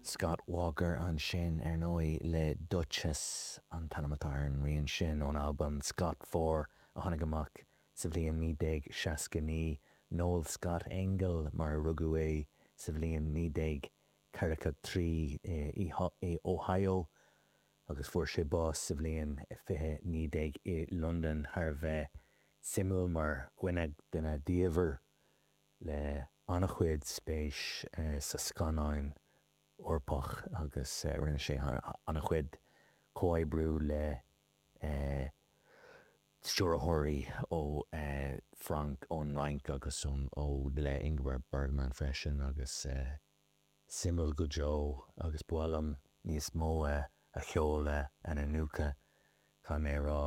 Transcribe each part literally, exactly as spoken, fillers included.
Scott Walker ansin ar ndóigh le Duchess an t-ainm atá ar an rian sin ón albam Scott Four a tháinig amach sa bhliain naoi déag seasca naoi Noel Scott Engel mar a rugadh é sa bhliain naoi déag ceathracha trí i Ohio agus fuair sé bás sa bhliain fiche naoi déag i Londain thar a bheith suimiúil mar dhuine duine diamhair le an-chuid spéis sa scannáin Eorpach agus rinne sé an-chuid comhoibriú le stiúrthóirí ó Frank ón Fhrainc agus ó le Ingmar Bergman freisin agus suimiúil go deo agus ba mhaith liom níos mó a cheol a iniúchadh caithfidh mé a rá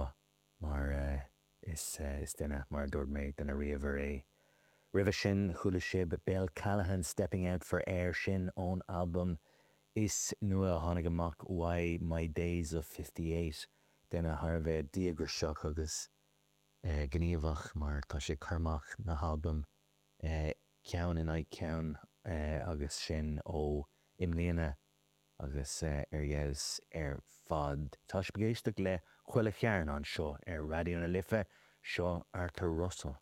mar is is duine mar a dúirt mé duine ríomhair é. Roimhe sin chuala sibh Bill Callahan Stepping Out for Air sin ón albam is nua a tháinig amach uaidh My Days of Fifty Eight duine thar a bheith díograiseach agus gníomhach mar tá sé ag cur amach na halbaim ceann in aghaidh ceann agus sin ó i mbliana agus ar fheabhas ar fad. Tá sibh ag éisteacht le Chuile Chearn anseo ar Raidió na Life, seo Arthur Russell.